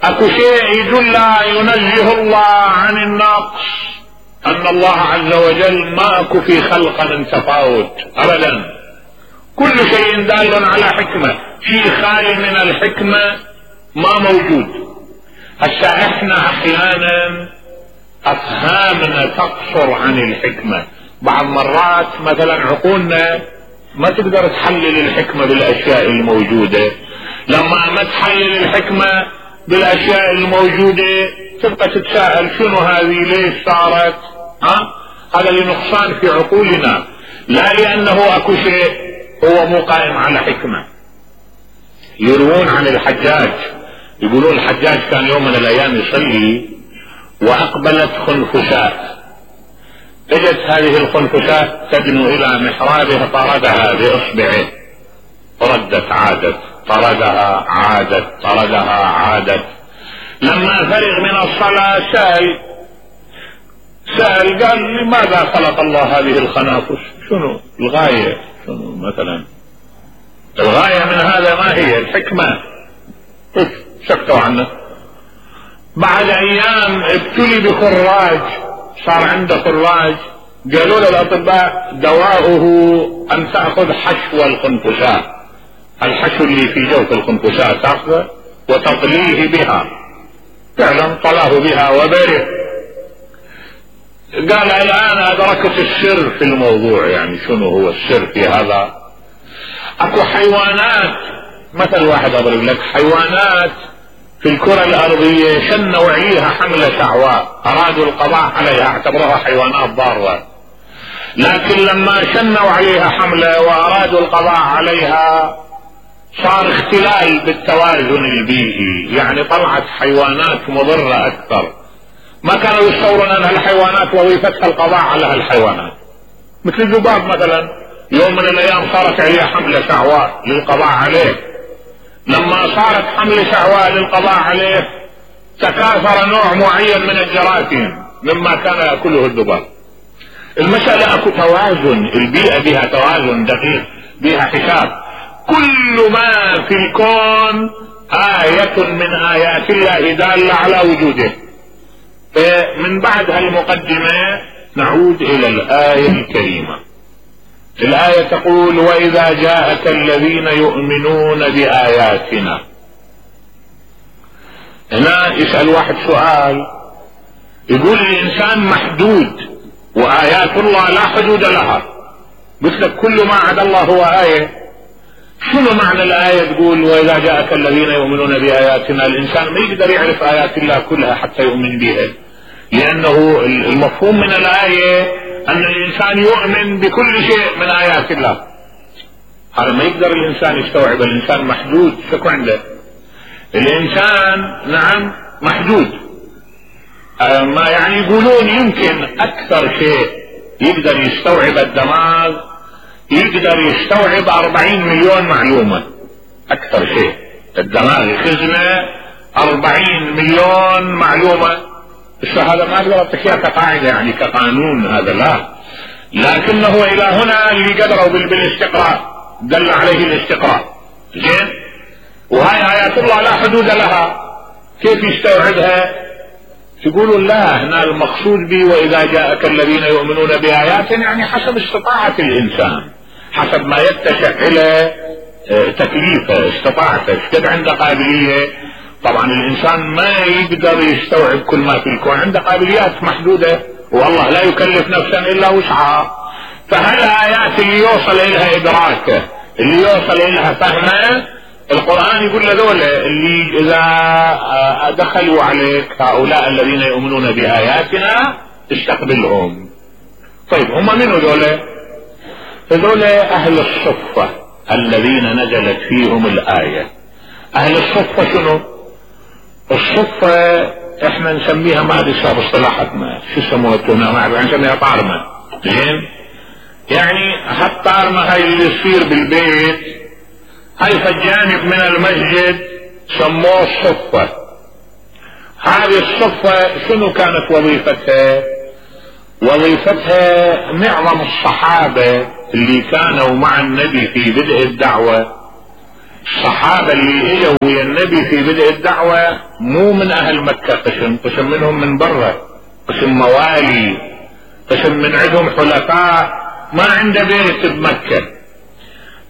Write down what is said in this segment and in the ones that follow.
اكو شيء يدل ينزه الله عن النقص، ان الله عز وجل ما اكو في خلقه من تفاوت ابدا، كل شيء دال على حكمة، شيء خالي من الحكمة ما موجود. هسا احنا احيانا افهامنا تقصر عن الحكمة، بعض مرات مثلا عقولنا ما تقدر تحلل الحكمة بالاشياء الموجودة، لما ما تحلل الحكمة بالاشياء الموجودة تبقى تتساءل شنو هذه، ليش صارت؟ هذا لنقصان في عقولنا، لا لانه اكو شيء هو مو قائم على حكمة. يروون عن الحجاج، يقولون الحجاج كان يوم من الايام يصلي واقبلت خنفساء، اجت هذه الخنفساء تدنو الى محرابه طردها باصبعه، ردت عادت، طردها عادت، طردها عادت. لما فرغ من الصلاة سأل قال لماذا خلق الله هذه الخنافس؟ شنو الغاية؟ شنو مثلا الغاية من هذا؟ ما هي الحكمة؟ سكتوا عنه. بعد ايام ابتلي بخراج، صار عنده خراج، قالوا له الاطباء دواؤه ان تأخذ حشو الخنفساء، الحشو اللي في جوف الخنفساء تأخذه وتطليه بها. فعلا طلاه بها وبره. قال الان ادركت السر في الموضوع، يعني شنو هو السر في هذا؟ اكو حيوانات، مثل واحد اضرب لك، حيوانات في الكرة الارضية شنوا عليها حملة شعواء، ارادوا القضاء عليها، اعتبروها حيوانات ضارة، لكن لما شنوا عليها حملة وارادوا القضاء عليها صار اختلال بالتوازن البيئي، يعني طلعت حيوانات مضرة اكثر. ما كانوا يتصورون ان الحيوانات وظيفتها القضاء على هالحيوانات، مثل الذباب مثلا، يوم من الايام صارت عليه حملة شعواء للقضاء عليه، لما صارت حملة شعواء للقضاء عليه تكاثر نوع معين من الجراثيم مما كان يأكله الذباب. المسألة اكو توازن، البيئة بها توازن دقيق، بها حساب. كل ما في الكون آية من آيات الله دالة على وجوده. من بعد هالمقدمة نعود إلى الآية الكريمة. الآية تقول: وإذا جاءك الذين يؤمنون بآياتنا. هنا يسأل واحد سؤال، يقول الإنسان محدود وآيات الله لا حدود لها، قلت لك كل ما عدا الله هو آية. شنو معنى الآية تقول وإذا جاءك الذين يؤمنون بآياتنا؟ الإنسان ما يقدر يعرف آيات الله كلها حتى يؤمن بها، لأنه المفهوم من الآية أن الإنسان يؤمن بكل شيء من آيات الله. هذا ما يقدر الإنسان يستوعب، الإنسان محدود. شكو عنده الإنسان؟ نعم محدود. ما يعني يقولون يمكن أكثر شيء يقدر يستوعب الدماغ، يقدر يستوعب 40 مليون معلومة. أكثر شيء الدماغ يخزنه 40 مليون معلومة. بس هذا ما أقدر أعطيك كقاعدة يعني كقانون، هذا لا، لكنه إلى هنا اللي قدروا بالاستقراء، دل عليه الاستقراء. زين، وهاي آيات الله لا حدود لها، كيف يستوعبها؟ تقولوا لا، هنا المقصود به وإذا جاءك الذين يؤمنون بآياتنا يعني حسب استطاعة الإنسان، حسب ما يتسع إلى تكليفه، استطاعته، قد عنده قابلية. طبعا الإنسان ما يقدر يستوعب كل ما في الكون، عنده قابليات محدودة، والله لا يكلف نفسا إلا وسعها. فهالآيات اللي يوصل إلها إدراكه، اللي يوصل إلها فهمه، القرآن يقول لذول اللي إذا دخلوا عليك هؤلاء الذين يؤمنون بآياتنا استقبلهم. طيب هم من هذول؟ أهل الصفة الذين نزلت فيهم الآية. أهل الصفة شنو؟ الصفة احنا نسميها، ما ادري شو اصطلاحاتنا، شو يسموها، ما اعرف، نسميها طارمة. زين، يعني هالطارمة هاي اللي يصير بالبيت، هاي في الجانب من المسجد سموه الصفة. هذه الصفة شنو كانت وظيفتها؟ وظيفتها معظم الصحابة اللي كانوا مع النبي في بدء الدعوة الصحابة اللي اجوا ويا النبي في بدء الدعوة مو من اهل مكة، قسم منهم من برا، قسم موالي، قسم من عندهم حلفاء ما عنده بيت بمكة.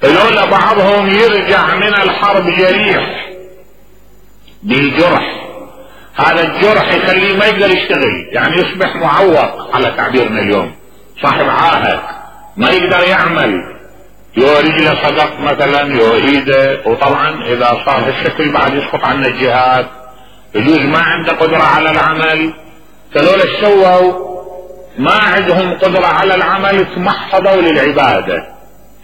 فلولا بعضهم يرجع من الحرب جريح بجرح، هذا الجرح يخليه ما يقدر يشتغل، يعني يصبح معوق على تعبيرنا اليوم، صاحب عاهة ما يقدر يعمل، يو رجله صدق مثلا، يو ايده، وطبعا اذا صار هالشكل بعد يسقط عنا الجهاد، يجوز ما عنده قدرة على العمل. فلولا سووا ما عندهم قدرة على العمل تمحضوا للعبادة،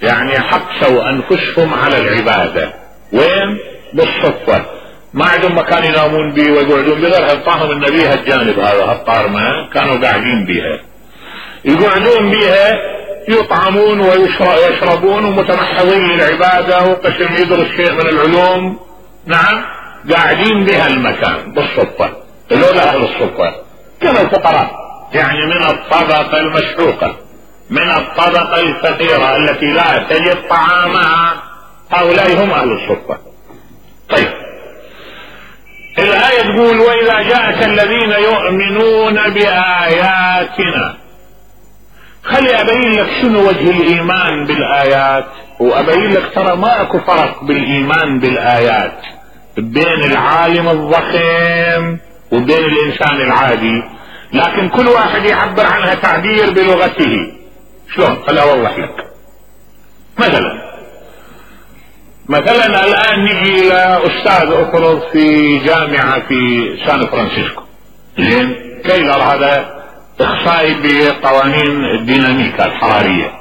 يعني حبسوا انفسهم على العبادة. وين؟ بالصدفة، ما عندهم مكان ينامون به ويقعدون به، غير هالطاهم النبي هالجانب هذا هالطارمة كانوا قاعدين بها، يقعدون بها يطعمون ويشربون ومتمحضين للعبادة، وقسم يدرس شيء من العلوم، نعم قاعدين بها المكان بالصدفة. لولا اهل الصدفة كانوا الفقراء، يعني من الطبقة المشحوقة، من الطبقة الفقيرة التي لا تجد طعامها، هؤلاء هم اهل الصدفة. طيب الآية تقول وإذا جاءك الذين يؤمنون بآياتنا. خلي أبين لك شنو وجه الإيمان بالآيات، وأبين لك ترى ما أكو فرق بالإيمان بالآيات بين العالم الضخم وبين الإنسان العادي، لكن كل واحد يعبر عنها تعبير بلغته. شلون؟ خلي أوضح لك. مثلا الآن نجي إلى أستاذ أفرض في جامعة في سان فرانسيسكو، زين، كيلر هذا اخصائي بقوانين الديناميكا الحرارية.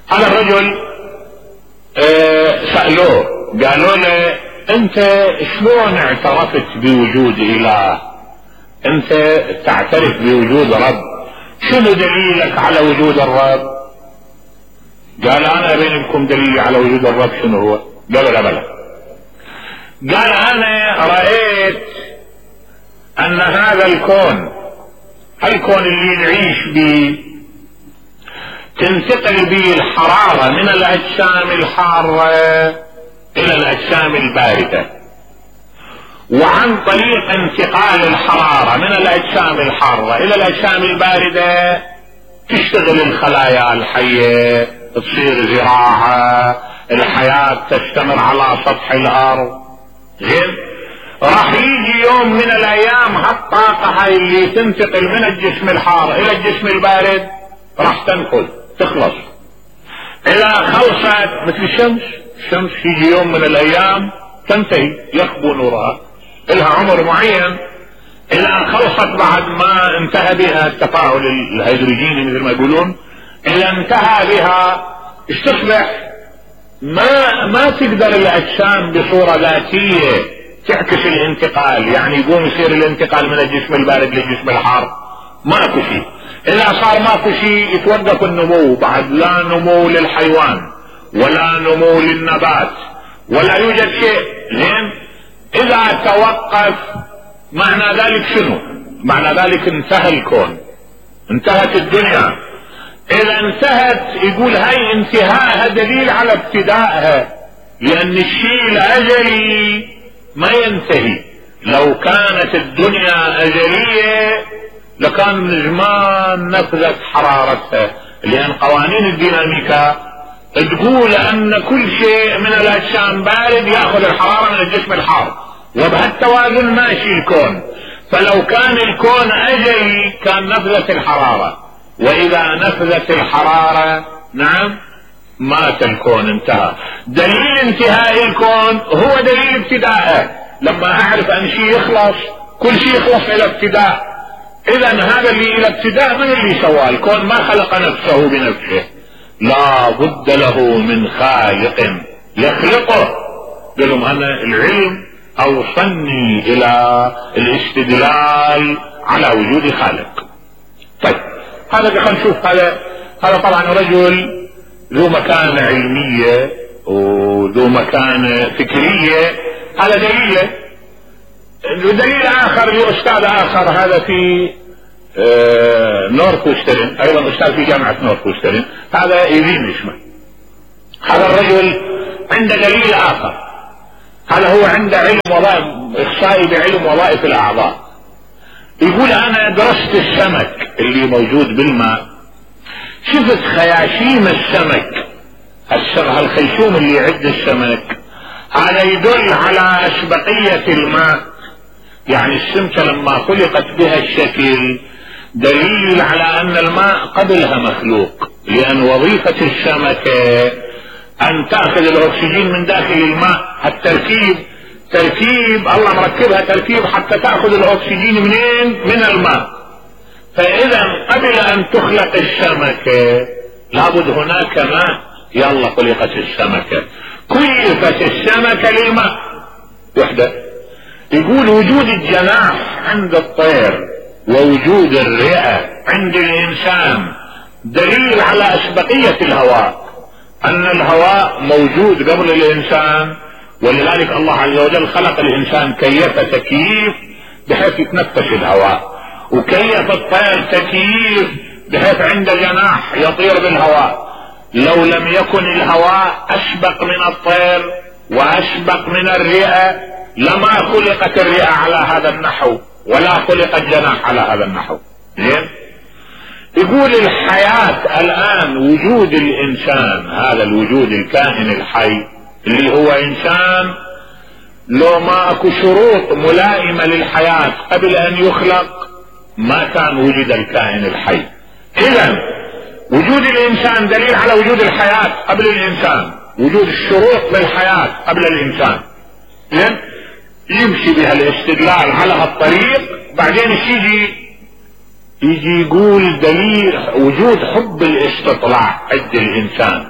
هذا الرجل سألوه قالوا له انت شلون اعترفت بوجود اله؟ انت تعترف بوجود رب، شنو دليلك على وجود الرب؟ قال انا ابين لكم دليلي على وجود الرب شنو هو؟ قالوا لا بلا. قال انا رأيت ان هذا الكون اللي نعيش به تنتقل به الحرارة من الاجسام الحارة الى الاجسام الباردة، وعن طريق انتقال الحرارة من الاجسام الحارة الى الاجسام الباردة تشتغل الخلايا الحية، تصير زراعة، الحياة تستمر على سطح الارض. زين، راح يجي يوم من الايام هالطاقة هاي اللي تنتقل من الجسم الحار الى الجسم البارد راح تنفذ تخلص، اذا خلصت مثل الشمس يجي يوم من الايام تنتهي، يخبو نورها، لها عمر معين، اذا خلصت بعد ما انتهى بها التفاعل الهيدروجيني مثل ما يقولون، اذا انتهى بها ايش تصبح؟ ما تقدر الاجسام بصورة ذاتية تعكس الانتقال، يعني يقوم يصير الانتقال من الجسم البارد للجسم الحار، ماكو شيء. اذا صار ماكو شيء يتوقف النمو، بعد لا نمو للحيوان ولا نمو للنبات ولا يوجد شيء. زين، اذا توقف معنى ذلك شنو؟ معنى ذلك انتهى الكون، انتهت الدنيا. اذا انتهت يقول هاي انتهاءها دليل على ابتدائها، لان الشيء الاجلي ما ينتهي. لو كانت الدنيا اجلية لكان من زمان نفذت حرارتها، لان قوانين الديناميكا تقول ان كل شيء من الاجسام بارد ياخذ الحرارة من الجسم الحار، وبهالتوازن ماشي الكون. فلو كان الكون اجلي كان نفذت الحرارة، واذا نفذت الحرارة نعم مات الكون، انتهى. دليل انتهاء الكون هو دليل ابتدائه، لما اعرف ان شيء يخلص كل شيء يخلص الى ابتداء. اذا هذا اللي الى ابتداء من اللي سواه؟ الكون ما خلق نفسه بنفسه، لا بد له من خالق يخلقه. قالوا انا العلم اوصلني الى الاستدلال على وجود خالق. طيب هذا خلينا نشوف، هذا طبعا رجل ذو مكانة علمية وذو مكانة فكرية، هذا دليله. دليل اخر لاستاذ اخر، هذا في نورث وسترن، ايضا استاذ في جامعة نورث وسترن، هذا ايفين اسمه. هذا الرجل عنده دليل اخر، هذا هو عنده علم وظائف، اخصائي بعلم وظائف الاعضاء. يقول انا درست السمك اللي موجود بالماء، شفت خياشيم السمك، هالخيشوم اللي يعد السمك هذا يدل على اسبقية الماء، يعني السمكة لما خلقت بها الشكل دليل على ان الماء قبلها مخلوق، لان وظيفة السمكة ان تأخذ الاكسجين من داخل الماء. تركيب الله مركبها تركيب حتى تأخذ الاكسجين منين؟ من الماء. فاذا قبل ان تخلق السمكة لابد هناك ماء، يلا خلقت السمكة، كلفت السمكة للماء وحدة. يقول وجود الجناح عند الطير ووجود الرئة عند الانسان دليل على اسبقية الهواء، ان الهواء موجود قبل الانسان، ولذلك الله عز وجل خلق الانسان كيف تكييف بحيث يتنفس الهواء، وكيف الطير تكييف بحيث عنده جناح يطير بالهواء. لو لم يكن الهواء اسبق من الطير واسبق من الرئة لما خلقت الرئة على هذا النحو ولا خلق الجناح على هذا النحو. زين؟ يقول الحياة الان وجود الانسان، هذا الوجود الكائن الحي اللي هو انسان، لو ما اكو شروط ملائمة للحياة قبل ان يخلق ما كان وجد الكائن الحي. اذا وجود الانسان دليل على وجود الحياة قبل الانسان، وجود الشروط للحياة قبل الانسان. زين؟ يمشي بها الاستدلال على هالطريق. بعدين يجي يقول دليل وجود حب الاستطلاع عند الانسان.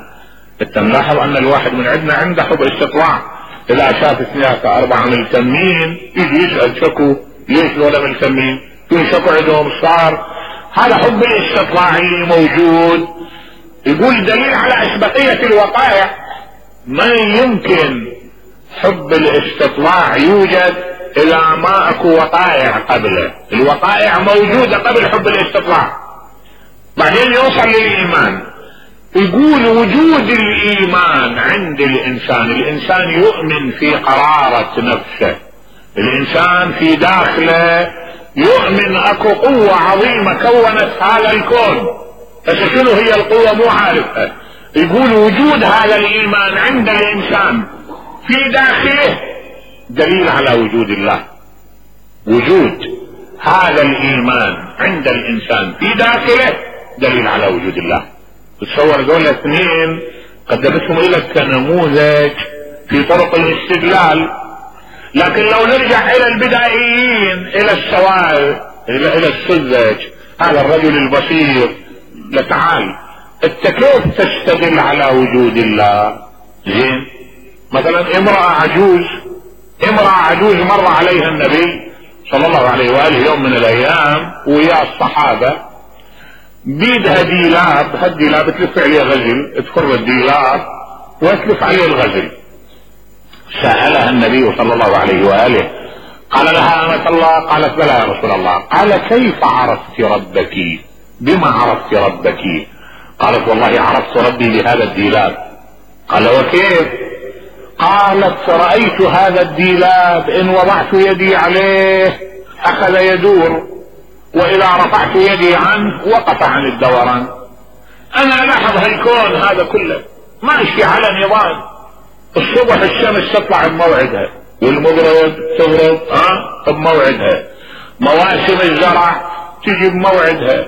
انت ملاحظ ان الواحد من عندنا عنده حب استطلاع، اذا شاف 2-4 ملتمين يجي يسأل شكو ليش ولا ملتمين، في شكو عندهم صار. هذا حب الاستطلاع اللي موجود. يقول دليل على اسبقية الوقائع، ما يمكن حب الاستطلاع يوجد اذا ما اكو وقائع قبله، الوقائع موجودة قبل حب الاستطلاع. بعدين يوصل للايمان، يقول وجود الايمان عند الانسان يؤمن في قرارة نفسه، الانسان في داخله يؤمن اكو قوة عظيمة كونت هذا الكون، بس شنو هي القوة مو عارفها. يقول وجود هذا الايمان عند الانسان في داخله دليل على وجود الله. وجود هذا الايمان عند الانسان في داخله دليل على وجود الله. تصور دول اثنين قدمتهم لك كنموذج في طرق الاستدلال، لكن لو نرجع الى البدائيين، الى السواد، الى السذج، هذا الرجل البسيط، لتعال انت كيف تستدل على وجود الله؟ زين؟ مثلا امرأة عجوز مر عليها النبي صلى الله عليه وآله يوم من الايام ويا الصحابة، بيدها ديلاب، هالديلاب تلف عليه غزل، تفر الديلاب وتلف عليه الغزل. سألها النبي صلى الله عليه وآله، قال لها أمة الله؟ قالت بلى يا رسول الله. قال كيف عرفت ربك؟ بما عرفت ربك؟ قالت والله عرفت ربي بهذا الديلاب. قال وكيف؟ قالت رأيت هذا الديلاب إن وضعت يدي عليه أخذ يدور، وإذا رفعت يدي عنه وقف عن الدوران. أنا ألاحظ هالكون هذا كله ماشي على نظام. الصبح الشمس تطلع بموعدها، والمغرب تغرب بموعدها، مواسم الزرع تجي بموعدها،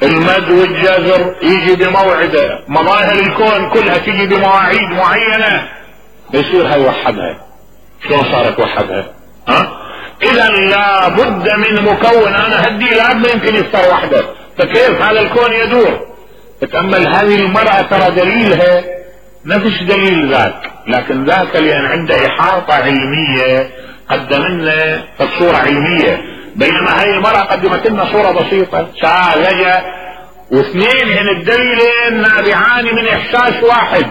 المد والجزر يجي بموعده، مظاهر الكون كلها تجي بمواعيد معينة. يصير هاي وحدها. شلون صارت وحدها؟ اذا لا بد من مكون. انا هدي لا ما يمكن يصير وحده، فكيف هذا الكون يدور؟ تتأمل هذه المرأة ترى دليلها نفس دليل ذاك، لكن ذاك لان عنده احاطة علمية قدم لنا صورة علمية، بينما هاي المرأة قدمت لنا صورة بسيطة ساذجة، واثنين هن الدليلين نابعان من احساس واحد،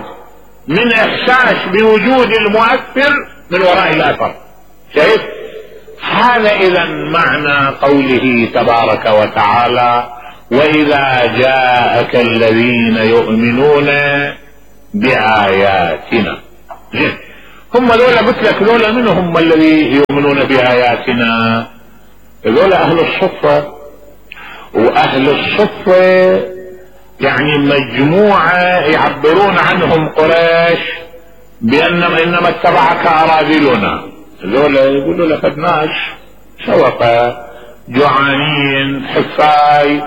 من احساس بوجود المؤثر من وراء الاثر. شايف؟ هذا اذا معنى قوله تبارك وتعالى واذا جاءك الذين يؤمنون بآياتنا. هم ذولا قلت لك ذولا من هم الذي يؤمنون بآياتنا؟ ذولا أهل الصفة. وأهل الصفة يعني مجموعة يعبرون عنهم قريش بأنما إنما اتبعك أراذلنا. ذولا يقولوا لقد ناس شوقة جوعانين حفاي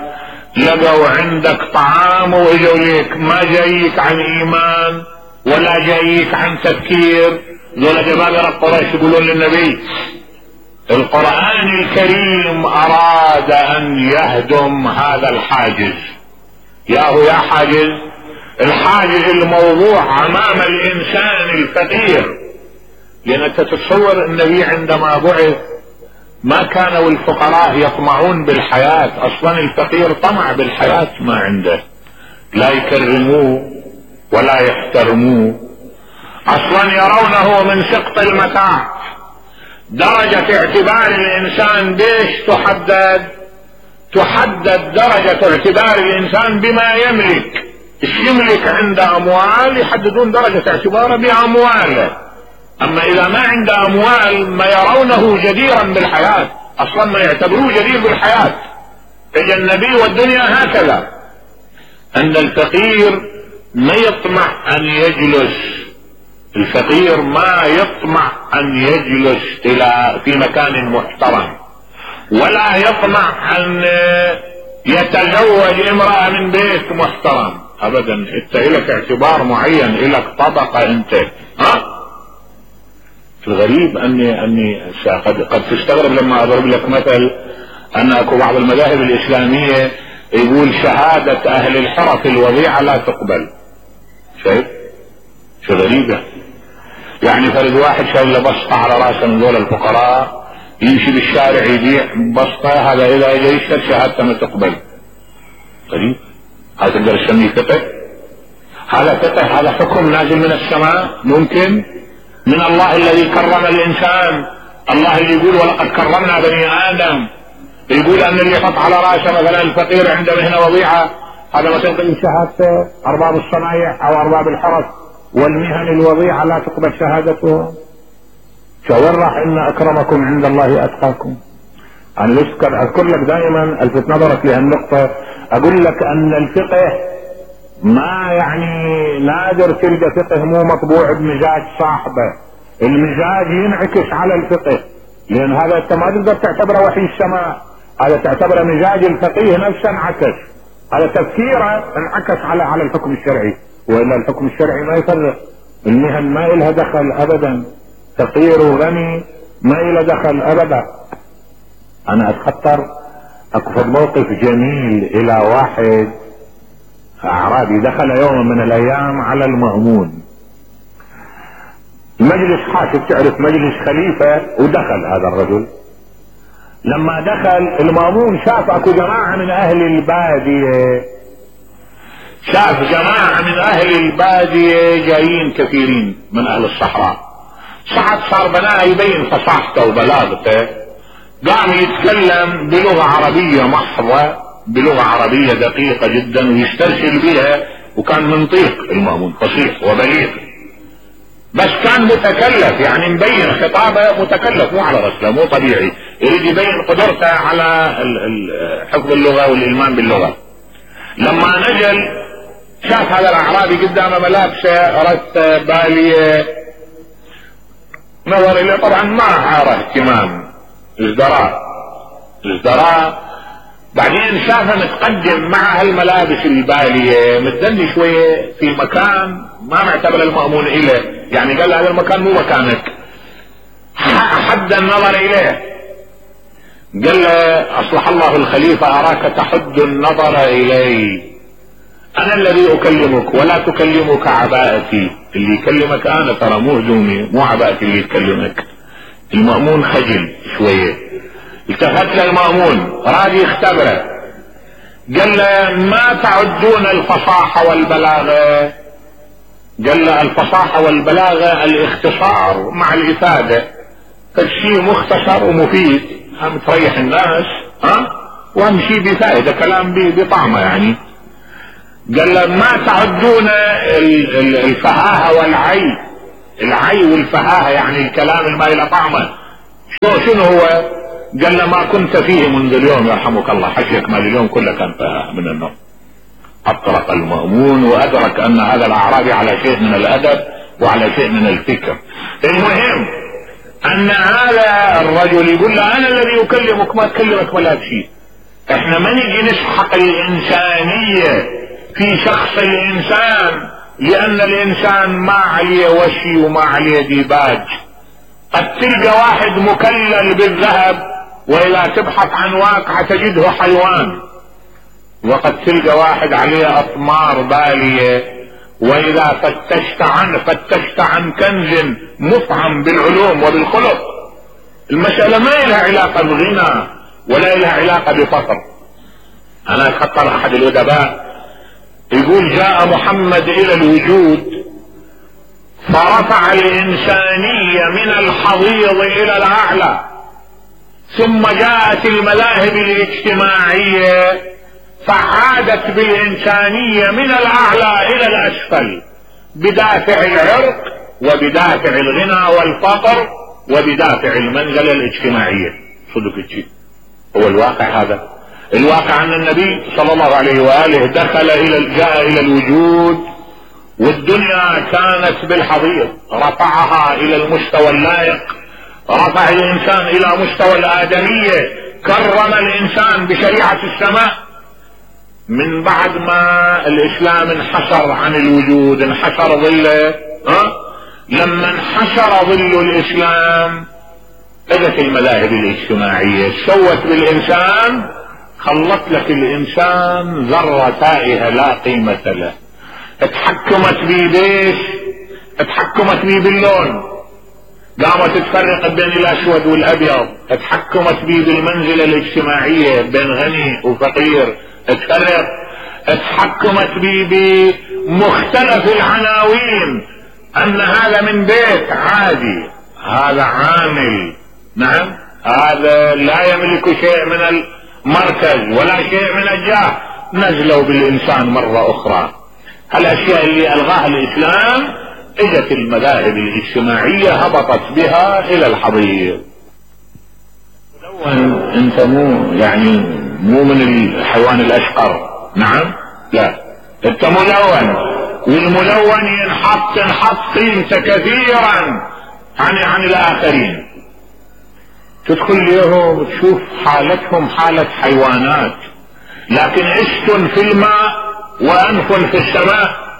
لقوا عندك طعام واجوا ليك، ما جايك عن ايمان ولا جايك عن تفكير. ذولا جبابرة قريش يقولون للنبي القرآن الكريم اراد ان يهدم هذا الحاجز. يا حاجز، الحاجز الموضوع امام الانسان الفقير. لان انت تتصور النبي عندما بعث ما كانوا الفقراء يطمعون بالحياة، اصلا الفقير طمع بالحياة ما عنده، لا يكرموه ولا يحترموه، اصلا يرونه من سقط المتاع. درجة اعتبار الانسان بيش تحدد درجة اعتبار الانسان بما يملك. ايش يملك عنده اموال يحددون درجة اعتباره بامواله، اما اذا ما عنده اموال ما يرونه جديرا بالحياة، اصلا ما يعتبروه جدير بالحياة. اجى النبي والدنيا هكذا، ان الفقير ما يطمع ان يجلس، الفقير ما يطمع ان يجلس في مكان محترم، ولا يطمع ان يتزوج امرأة من بيت محترم ابدا. انت لك اعتبار معين، لك طبقة انت. الغريب اني قد تستغرب لما اضرب لك مثل ان اكو بعض المذاهب الاسلامية يقول شهادة اهل الحرف الوضيعة لا تقبل. شايف شو غريبة؟ يعني فرد واحد شايل له بسطة على راسه من دول الفقراء يمشي بالشارع يبيع بسطة، هذا اذا اجى يشهد شهادته ما تقبل. غريب. هذا تقدر تسميه فقه؟ هذا فقه؟ هذا حكم نازل من السماء ممكن من الله الذي كرم الانسان. الله اللي يقول ولقد كرمنا بني ادم، يقول ان اللي يحط على راسه مثلا الفقير عنده مهنة وضيعة هذا ما تقبل شهادته. ارباب الصنايع او ارباب الحرف والمهن الوضيعة لا تقبل شهادته. شاور راح ان اكرمكم عند الله اتقاكم. انا اذكر لك دائما الفت نظرك لهالنقطة، اقول لك ان الفقه ما يعني نادر تلقى فقه مو مطبوع بمزاج صاحبه، المزاج ينعكس على الفقه، لان هذا انت ما تقدر تعتبره وحي السماء، هذا تعتبره مزاج الفقيه نفسه انعكس، هذا تفكيره انعكس على الحكم الشرعي. والا الحكم الشرعي ما يفرق، المهن ما إلها دخل ابدا، فقير وغني ما إلها دخل ابدا. انا اتخطر اكو موقف جميل الى واحد اعرابي دخل يوم من الايام على المأمون مجلس حاكم، تعرف مجلس خليفة، ودخل هذا الرجل. لما دخل المأمون شاف اكو جماعة من اهل البادية، شاف جماعة من اهل البادية جايين كثيرين من اهل الصحراء، صار بناه يبين فصاحته وبلاغته، قام يتكلم بلغة عربية محضة، بلغة عربية دقيقة جدا ويسترسل بها، وكان منطيق المأمون فصيح وبليغ، بس كان متكلف، يعني مبين خطابه متكلف مو على رسله، مو طبيعي، يريد يبين قدرته على حفظ اللغة والإلمام باللغة. لما نزل شاف هذا الأعرابي قدامه ملابسه رثة بالية، نظر إليه طبعا ما عاره اهتمام، ازدراء. بعدين شافه متقدم مع هالملابس البالية متدني شوية في مكان ما معتبر المأمون إليه، يعني قال هذا المكان مو مكانك، حد النظر إليه، قال له أصلح الله الخليفة أراك تحد النظر إلي، أنا الذي أكلمك ولا تكلمك عباءتي، اللي يكلمك أنا ترى مو هدومي مو عباءتي اللي يكلمك. المأمون خجل شوية، التفت للمأمون راد يختبره، قال له ما تعدون الفصاحة والبلاغة؟ قال له الفصاحة والبلاغة الاختصار مع الإفادة، فالشيء مختصر ومفيد هم تريح الناس واهم شيء بفائدة، كلام بطعمه يعني. قال له ما تعدون الفهاهة والعيب، العي والفهاهة يعني الكلام اللي ما له طعمه. شنو هو؟ قال له ما كنت فيه منذ اليوم يرحمك الله، حكيك مال اليوم كله كان من النوم. اطرق المأمون وادرك ان هذا الاعرابي على شيء من الادب وعلى شيء من الفكر. المهم ان هذا الرجل يقول له انا الذي اكلمك ما تكلمك ولا بشيء. احنا ما نجي نسحق الانسانية في شخص الانسان لان الانسان ما عليه وشي وما عليه ديباج. قد تلقى واحد مكلل بالذهب واذا تبحث عن واقع تجده حيوان، وقد تلقى واحد عليه اطمار بالية واذا فتشت عن كنز مفعم بالعلوم وبالخلق. المسألة ما لها علاقة بغنى ولا لها علاقة بفقر. انا خطر احد الادباء يقول جاء محمد الى الوجود فرفع الانسانية من الحضيض الى الاعلى، ثم جاءت المذاهب الاجتماعية فعادت بالانسانية من الاعلى الى الاسفل بدافع العرق وبدافع الغنى والفقر وبدافع المنزلة الاجتماعية. صدق الشيء هو الواقع. هذا الواقع ان النبي صلى الله عليه وآله جاء الى الوجود والدنيا كانت بالحضيض، رفعها الى المستوى اللائق، رفع الانسان الى مستوى الادمية، كرم الانسان بشريعة السماء. من بعد ما الاسلام انحشر عن الوجود، انحشر ظله، لما انحشر ظل الاسلام اجت المذاهب الاجتماعية سوت بالانسان، خلت لك الانسان ذرة تائهة لا قيمة له. اتحكمت بيه بيش؟ اتحكمت بيه باللون، قامت تفرق بين الاسود والابيض. اتحكمت بيه بالمنزلة الاجتماعية بين غني وفقير، تفرق. اتحكمت بيه بمختلف العناوين، ان هذا من بيت عادي، هذا عامل، نعم، هذا لا يملك شيء من المركز ولا شيء من الجاه. نزلوا بالانسان مرة اخرى. الاشياء اللي الغاها الاسلام اجت المذاهب الاجتماعية هبطت بها الى الحضيض. ملون انت مو من الحيوان الاشقر، نعم، لا، انت ملون، والملون ينحط قيمته كثيرا عن الاخرين. تدخل اليوم تشوف حالتهم حالة حيوانات، لكن عشت في الماء وانف في السماء.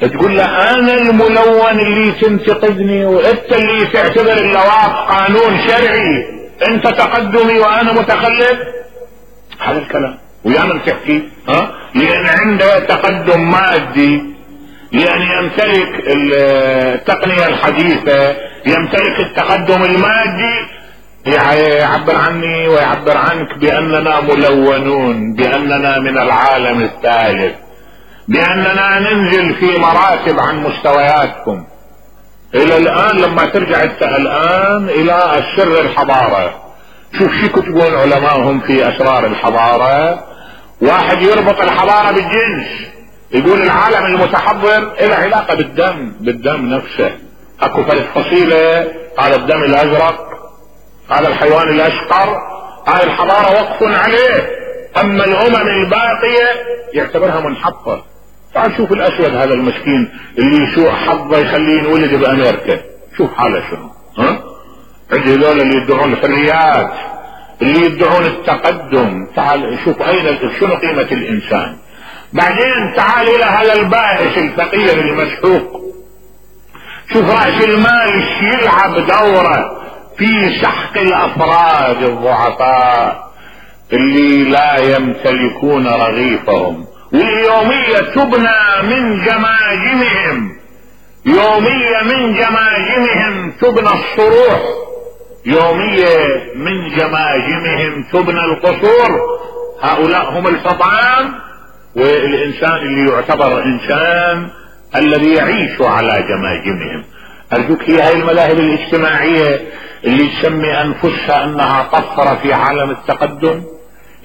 تقول له انا الملون اللي تنتقدني وانت اللي تعتبر اللواط قانون شرعي، انت تقدمي وانا متخلف. هذا الكلام ويانا بتحكي لان عنده تقدم مادي، لان يمتلك التقنية الحديثة، يمتلك التقدم المادي، يعبر عني ويعبر عنك باننا ملونون، باننا من العالم الثالث، باننا ننزل في مراتب عن مستوياتكم. الى الان لما ترجع الان الى السر الحضارة، شوف شو يكتبون علماءهم في اسرار الحضارة. واحد يربط الحضارة بالجنس، يقول العالم المتحضر له علاقة بالدم نفسه. اكو ثلاث فصيلة، هذا الدم الازرق، هذا الحيوان الاشقر، هاي الحضارة وقف عليه. اما الامم الباقية يعتبرها منحطة. تعال شوف الاسود هذا المسكين اللي سوء حظه يخليه ينولد بامريكا، شوف حاله شنو. عندي هذول اللي يدعون الحريات، اللي يدعون التقدم. تعال شوف شنو قيمة الانسان. بعدين تعال الى هذا البائس الفقير المسحوق، شوف رأس المال يلعب دوره في سحق الافراد الضعفاء اللي لا يمتلكون رغيفهم. واليومية تبنى من جماجمهم، يومية من جماجمهم تبنى الصروح، يومية من جماجمهم تبنى القصور. هؤلاء هم الحطام، والإنسان اللي يعتبر إنسان الذي يعيش على جماجمهم. أرجوك هي هاي المذاهب الاجتماعية اللي تسمي أنفسها أنها طفرة في عالم التقدم،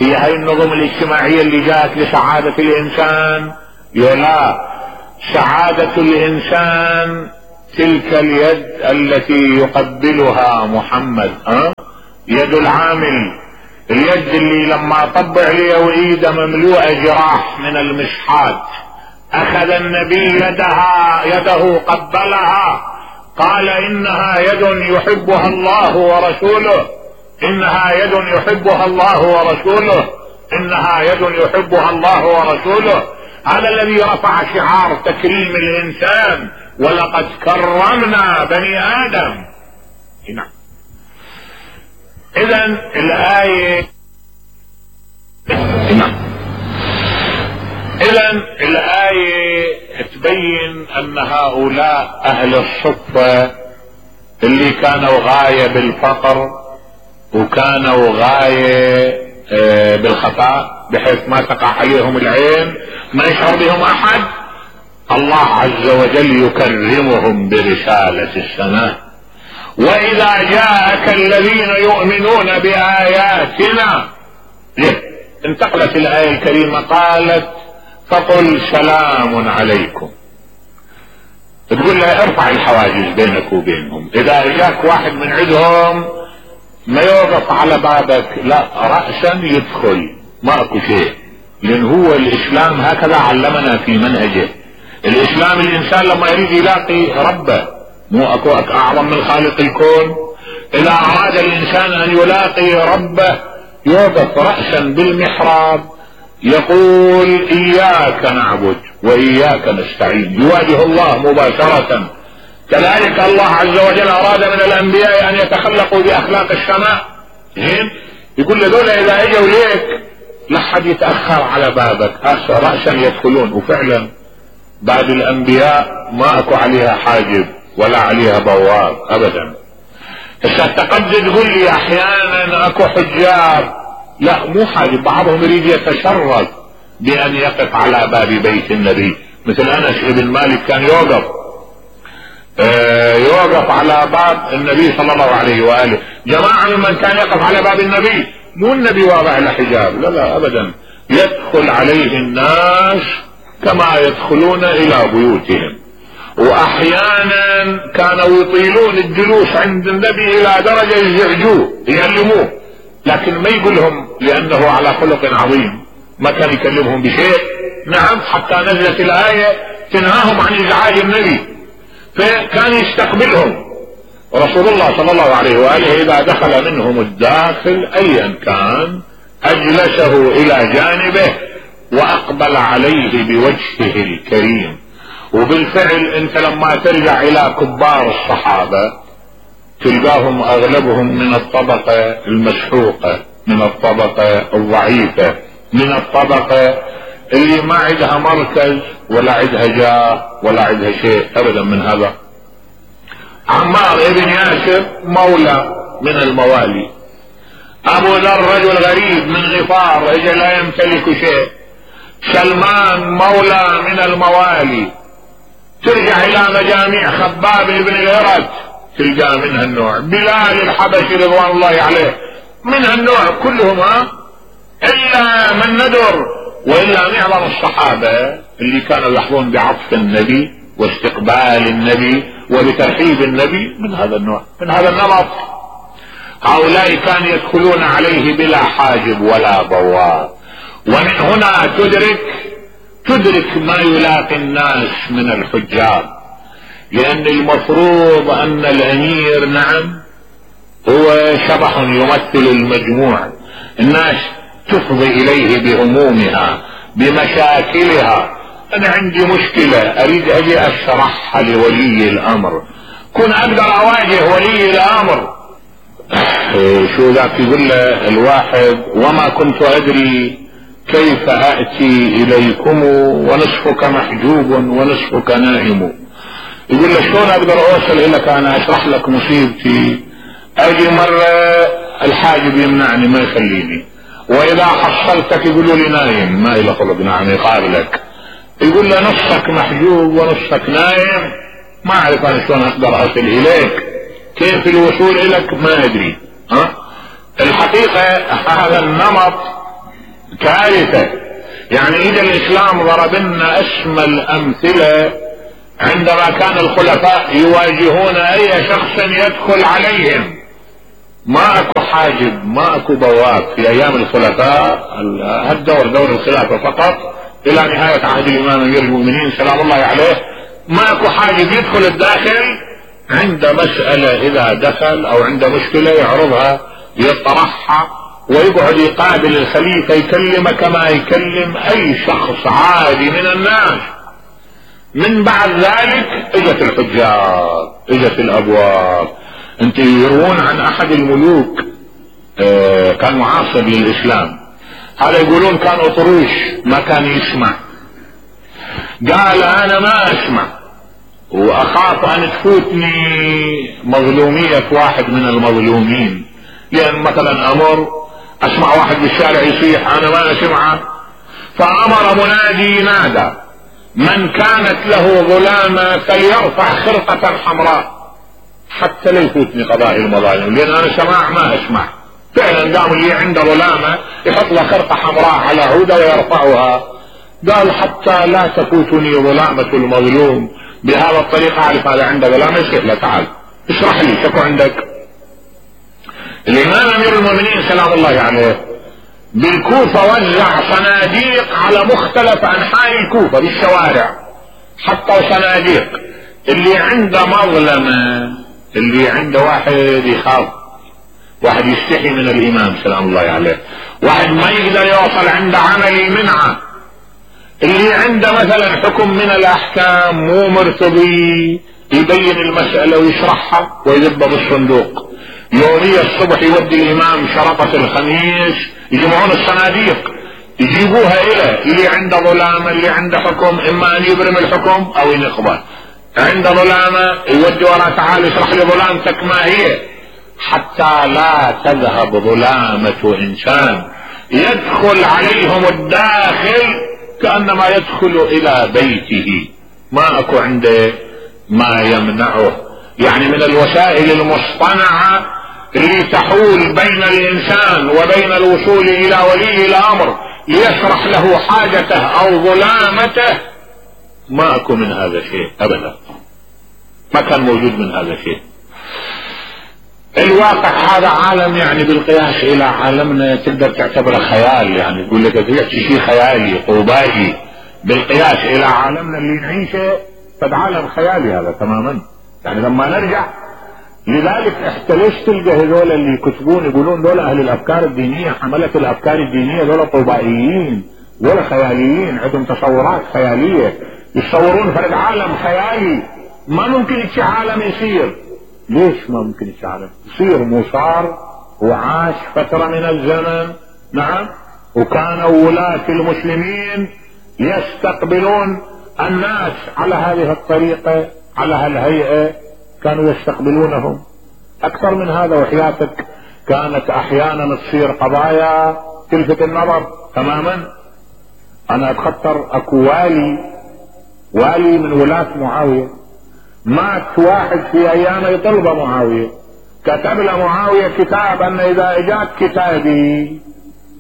هي هاي النظم الاجتماعية اللي جاءت لسعادة الإنسان. لا، سعادة الإنسان تلك اليد التي يقبلها محمد، يد العامل، اليد اللي لما طبع لي وايده مملوءه جراح من المشحات، اخذ النبي يده قبلها، قال انها يد يحبها الله ورسوله، انها يد يحبها الله ورسوله، انها يد يحبها الله ورسوله. هذا الذي رفع شعار تكريم الانسان، ولقد كرمنا بني ادم. نعم. اذا الآية تبين ان هؤلاء اهل الصفة اللي كانوا غاية بالفقر وكانوا غاية بالخطأ بحيث ما تقع عليهم العين، ما يشعر بهم احد، الله عز وجل يكرمهم برسالة السماء. واذا جاءك الذين يؤمنون بآياتنا، انتقلت الآية الكريمة قالت فقل سلام عليكم، تقول له ارفع الحواجز بينك وبينهم. اذا جاك واحد من عندهم ما يوقف على بابك، لا، رأسا يدخل، ما اكو شيء، لان هو الاسلام هكذا علمنا في منهجه. الاسلام الانسان لما يريد يلاقي ربه، مو اكو اعظم من خالق الكون، اذا اراد الانسان ان يلاقي ربه يوقف رأسا بالمحراب يقول اياك نعبد واياك نستعين، يواجه الله مباشرة. كذلك الله عز وجل اراد من الانبياء ان يتخلقوا باخلاق السماء. يقول لذول اذا اجوا ليك لا حد يتاخر على بابك، رأسا يدخلون. وفعلا بعد الانبياء ما اكو عليها حاجب ولا عليها بواب ابدا. تقدر تقول لي احيانا اكو حجاب، لا مو حاجب، بعضهم يريد يتشرف بان يقف على باب بيت النبي، مثل انس بن مالك كان يوقف على باب النبي صلى الله عليه واله. جماعه ممن كان يقف على باب النبي، مو النبي واضع له حجاب، لا ابدا، يدخل عليه الناس كما يدخلون الى بيوتهم. واحيانا كانوا يطيلون الجلوس عند النبي الى درجه يزعجوه يعلموه، لكن ما يقولهم لانه على خلق عظيم، ما كان يكلمهم بشيء. نعم، حتى نزلت الايه تنهاهم عن ازعاج النبي، فكان يستقبلهم رسول الله صلى الله عليه واله. اذا دخل منهم الداخل ايا كان اجلسه الى جانبه واقبل عليه بوجهه الكريم. وبالفعل انت لما ترجع الى كبار الصحابة تلقاهم اغلبهم من الطبقة المسحوقة، من الطبقة الضعيفة، من الطبقة اللي ما عندها مركز ولا عندها جاه ولا عندها شيء ابدا من هذا. عمار ابن ياسر مولى من الموالي، ابو ذر رجل غريب من غفار اجى لا يمتلك شيء، سلمان مولى من الموالي. ترجع الى مجاميع خباب بن الهرت تلقى من هالنوع، بلال الحبشي رضوان الله عليه من هالنوع كلهم، الا من ندر. والا معظم الصحابة اللي كانوا يحظون بعطف النبي واستقبال النبي وبترحيب النبي من هذا النوع، من هذا النمط. هؤلاء كانوا يدخلون عليه بلا حاجب ولا بواب. ومن هنا تدرك ما يلاقي الناس من الحجاب، لان المفروض ان الامير نعم هو شبح يمثل المجموع، الناس تفضي اليه بهمومها بمشاكلها. انا عندي مشكلة اريد اجي اشرحها لولي الامر، كن اقدر اواجه ولي الامر. شو ذاك يقول له الواحد وما كنت ادري كيف اتي اليكم ونصفك محجوب ونصفك نائم. يقول له شلون اقدر اوصل اليك انا اشرح لك مصيبتي؟ اجي مرة الحاجب يمنعني ما يخليني، واذا حصلتك يقولوا لي نايم ما الى خلق نعم يقابلك. يقول له نصك محجوب ونصك نايم، ما اعرف انا شلون اقدر اصل اليك، كيف الوصول اليك ما ادري. الحقيقة هذا النمط كارثة. يعني اذا الاسلام ضرب لنا اسمى الامثلة عندما كان الخلفاء يواجهون اي شخص يدخل عليهم ما اكو حاجب ما اكو بواب في ايام الخلفاء، هالدور دور الخلافة فقط الى نهاية عهد الامام امير المؤمنين سلام الله عليه. ما اكو حاجب يدخل الداخل، عند مسألة اذا دخل او عند مشكلة يعرضها يطرحها ويقعد يقابل الخليفة يكلمه كما يكلم اي شخص عادي من الناس. من بعد ذلك اجت الحجاج اجت الابواب. انت يروون عن احد الملوك كان معاصر للاسلام، هذا يقولون كان اطروش ما كان يسمع، قال انا ما اسمع واخاف ان تفوتني مظلومية واحد من المظلومين، لان مثلا امر اسمع واحد بالشارع يصيح انا ما اسمعه، فامر منادي نادى من كانت له ظلامة فليرفع خرقة حمراء حتى لا يفوتني قضاء المظالم، لان انا سماع ما اسمع. فعلا قام اللي عنده ظلامة يحط له خرقة حمراء على عودة ويرفعها، قال حتى لا تفوتني ظلامة المظلوم، بهذا الطريقة اعرف هذا عنده ظلامة. يصيح له تعال اشرح لي شكو عندك. الامام امير المؤمنين سلام الله عليه بالكوفة وزع صناديق على مختلف انحاء الكوفة بالشوارع، حتى صناديق اللي عنده مظلمة، اللي عنده واحد يخاف، واحد يستحي من الامام سلام الله عليه، واحد ما يقدر يوصل عنده عمل المنعة، اللي عنده مثلا حكم من الاحكام مو مرتضي يبين المسألة ويشرحها ويذبها بالصندوق. يومية الصبح يودي الامام شرطة الخميس يجمعون الصناديق يجيبوها الى اللي عنده ظلامة، اللي عنده حكم اما ان يبرم الحكم او ينقضه، عنده ظلامة يودي وراه تعال اشرح لي ظلامتك ما هي، حتى لا تذهب ظلامة انسان يدخل عليهم الداخل كأنما يدخل الى بيته، ما اكو عنده ما يمنعه. يعني من الوسائل المصطنعة اللي تحول بين الانسان وبين الوصول الى ولي الامر ليشرح له حاجته او ظلامته، ما اكو من هذا شيء ابدا، ما كان موجود من هذا شيء. الواقع هذا عالم يعني بالقياس الى عالمنا تقدر تعتبره خيال، يعني تقول لك تحكي شيء خيالي قوباجي، بالقياس الى عالمنا اللي نعيشه فد عالم خيالي هذا تماما. يعني لما نرجع لذلك احنا ليش تلقى هذول اللي يكتبون يقولون دول اهل الافكار الدينية، حملة الافكار الدينية دول طوبائيين دول خياليين، عندهم تصورات خيالية، يتصورون فرد عالم خيالي ما ممكن يتشي عالم يصير. ليش ما ممكن يتشي عالم يصير؟ مو صار وعاش فترة من الزمن، نعم، وكانوا ولاة المسلمين يستقبلون الناس على هذه الطريقة على هالهيئة، كانوا يستقبلونهم اكثر من هذا. وحياتك كانت احيانا تصير قضايا تلفت النظر تماما. انا اتخطر اكو والي من ولاة معاوية، مات واحد في ايام يطلب معاوية، كتب له معاوية كتاب ان اذا اجاك كتابي،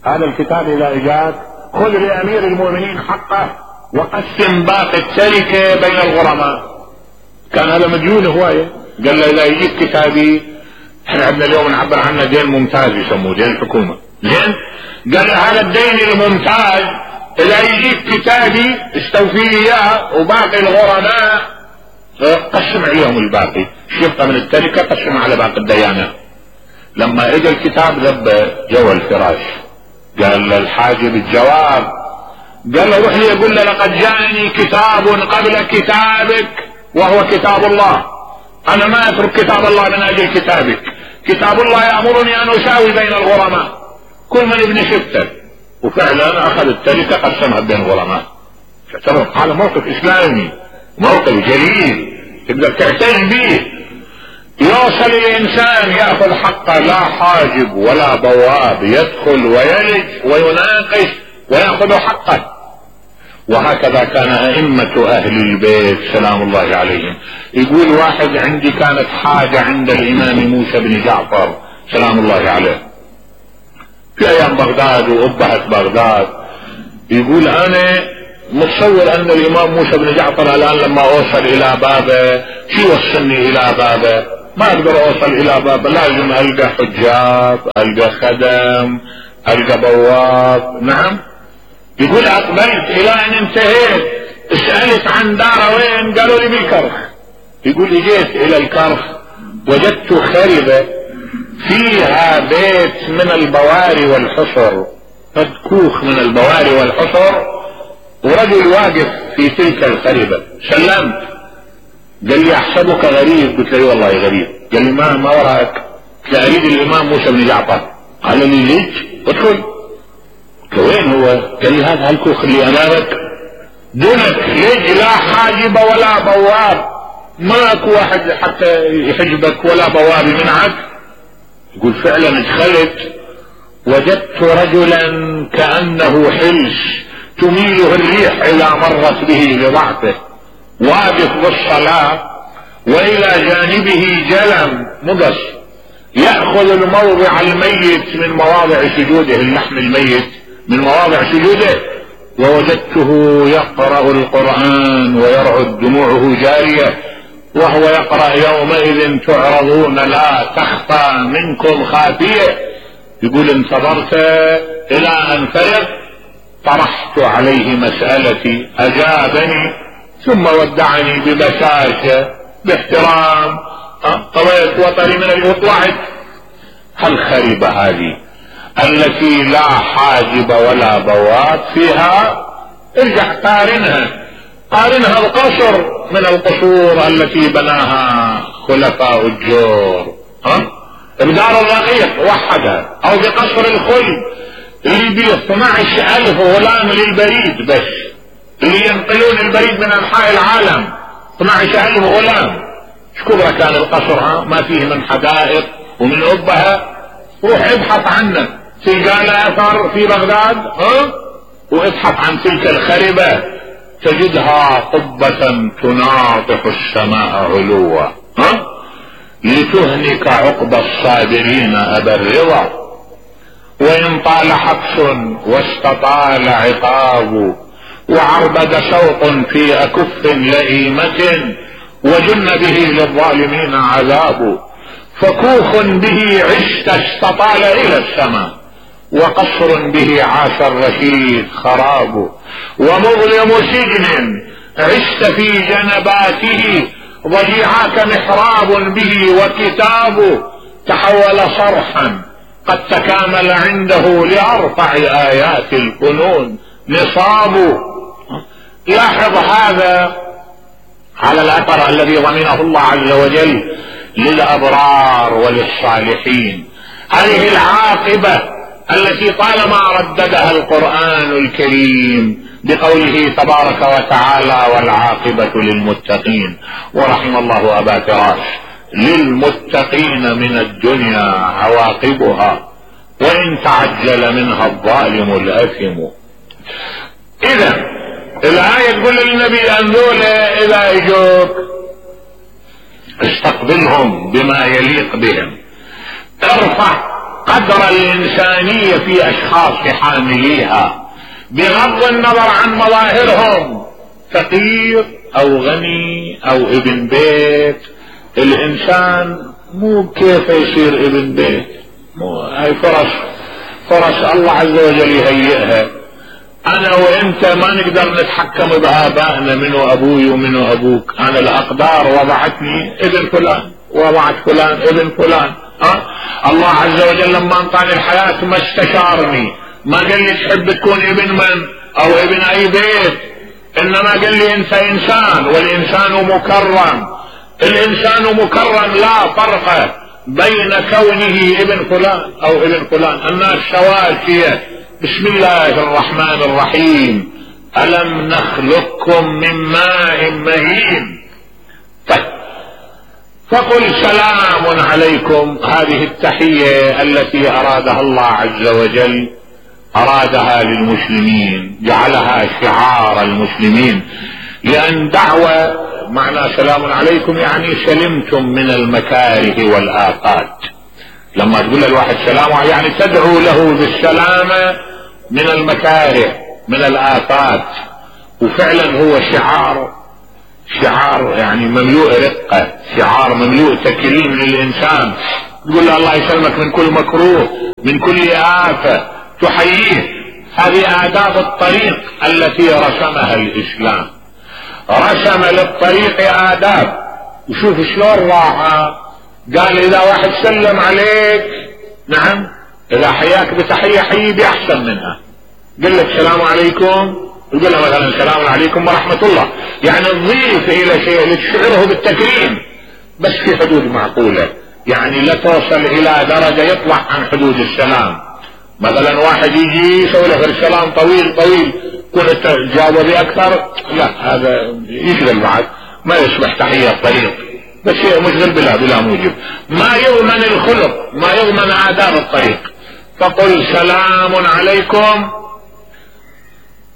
هذا الكتاب اذا اجاك خذ لامير المؤمنين حقه وقسم باقي التركة بين الغرماء. كان هذا مديون هواية، قال له اذا يجيك كتابي، احنا عندنا اليوم نعبر عنه دين ممتاز يسموه دين الحكومة، زين؟ قال له هذا الدين الممتاز اذا يجيك كتابي استوفي اياه وباقي الغرماء قسم عليهم الباقي، شفته من التركة قسم على باقي الديانة. لما اجى الكتاب ذب جوا الفراش، قال للحاجب الجواب، قال له روح لي يقول له لقد جاءني كتاب قبل كتابك وهو كتاب الله، انا ما اترك كتاب الله من اجل كتابك، كتاب الله يأمرني ان اساوي بين الغرماء كل من ابن شفته. وفعلا اخذ التركة قسمها بين الغرماء. تعتبر هذا موقف اسلامي، موقف جليل تقدر تعتز به. يوصل الانسان ياخذ حقه لا حاجب ولا بواب، يدخل ويلج ويناقش وياخذ حقه. وهكذا كان ائمة اهل البيت سلام الله عليهم. يقول واحد عندي كانت حاجة عند الامام موسى بن جعفر سلام الله عليه في ايام بغداد وابهت بغداد، يقول انا متصور ان الامام موسى بن جعفر الان لما اوصل الى بابه شو وصلني الى بابه؟ ما اقدر اوصل الى بابه، لازم القى حجاب، القى خدم، القى بواب. نعم. يقول اقبلت الى ان انتهيت، سألت عن داره وين؟ قالوا لي بالكرخ. يقول اجيت الى الكرخ وجدت خربة فيها بيت من البواري والحصر، قد كوخ من البواري والحصر، ورجل واقف في تلك الخربة. سلمت، قال لي احسبك غريب. قلت له والله غريب. قال لي ما وراك؟ قلت له اريد الامام موسى بن جعفر. قال لي ليش؟ ادخل. قلت له وين هو؟ قال لي هذا الكوخ اللي امامك دونك، ليش لا حاجب ولا بواب، ماك واحد حتى يحجبك ولا بواب يمنعك. يقول فعلا دخلت وجدت رجلا كأنه حلس تميله الريح اذا مرت به لضعفه، واقف بالصلاة والى جانبه جلم مقص يأخذ الموضع الميت من مواضع سجوده، اللحم الميت من مواضع سجوده، ووجدته يقرأ القرآن ويرعد دموعه جارية وهو يقرأ يومئذ تعرضون لا تخفى منكم خافية. يقول انتظرت الى ان فرغ، طرحت عليه مسألتي، اجابني ثم ودعني ببشاشة باحترام، طويت وطري من وطلعت. الخربة هذه التي لا حاجب ولا بواب فيها، ارجع قارنها بقصر من القصور التي بناها خلفاء الجور، بدار الرقيق وحدها، او بقصر الخلد اللي بيه 12,000 غلام للبريد، بس اللي ينقلون البريد من انحاء العالم 12,000 غلام. شكبرة كان القصر، ما فيه من حدائق ومن أبها. روح ابحث عنه، تلقى له اثر في بغداد، وابحث عن تلك الخربة تجدها قبة تناطح السماء علوا، لتهلك عقب الصابرين ابا الرضا، وان طال حبس واستطال عقاب، وعربد شوق في اكف لئيمة، وجن به للظالمين عذاب. فكوخ به عشت استطال الى السماء، وقصر به عاش الرشيد خراب، ومظلم سجن عشت في جنباته، ضجيعاك محراب به وكتاب، تحول صرحا قد تكامل عنده لأرفع آيات الفنون نصاب. لاحظ هذا على الأثر الذي ضمنه الله عز وجل للأبرار وللصالحين، هذه العاقبة التي طالما رددها القرآن الكريم بقوله تبارك وتعالى والعاقبة للمتقين. ورحم الله أبا فراش، للمتقين من الدنيا عواقبها، وإن تعجل منها الظالم الأثم. إذا الآية تقول للنبي أن ذولا إذا يجوك استقبلهم بما يليق بهم، ارفع قدر الإنسانية في أشخاص حامليها بغض النظر عن مظاهرهم، فقير أو غني أو ابن بيت. الإنسان مو كيف يصير ابن بيت، مو هاي فرص الله عز وجل يهيئها. أنا وإنت ما نقدر نتحكم بآبائنا، منو أبوي ومنو أبوك. أنا الأقدار وضعتني ابن فلان، وضعت فلان ابن فلان. الله عز وجل لما انطاني الحياة ما استشارني، ما قال لي تحب تكون ابن من او ابن اي بيت، انما قال لي انت انسان، والانسان مكرم. الانسان مكرم لا فرق بين كونه ابن فلان او ابن فلان، الناس سواسية. بسم الله الرحمن الرحيم، ألم نخلقكم من ماء مهين. طيب، فقل سلام عليكم. هذه التحية التي أرادها الله عز وجل أرادها للمسلمين، جعلها شعار المسلمين، لأن دعوة معنى سلام عليكم يعني سلمتم من المكاره والآفات. لما تقول للواحد سلام يعني تدعو له بالسلامة من المكاره من الآفات وفعلا هو شعار يعني مملوء رقة، شعار مملوء تكريم للإنسان. تقول له الله يسلمك من كل مكروه، من كل آفة، تحييه. هذه آداب الطريق التي رسمها الإسلام، رسم للطريق آداب. وشوف شلون راعى، قال إذا واحد سلم عليك، نعم، إذا حياك بتحية حيي بأحسن منها. قل لك السلام عليكم، يقول له مثلا السلام عليكم ورحمة الله، يعني تضيف إلى شيء لتشعره بالتكريم، بس في حدود معقولة، يعني لا توصل إلى درجة يطلع عن حدود السلام. مثلا واحد يجي يسوي له السلام طويل طويل، كنت تجاوب أكثر، لا هذا يشغل بعد، ما يصبح تحية الطريق، بس شيء مشغل بلا موجب، ما يضمن الخلق، ما يضمن آداب الطريق. فقل سلام عليكم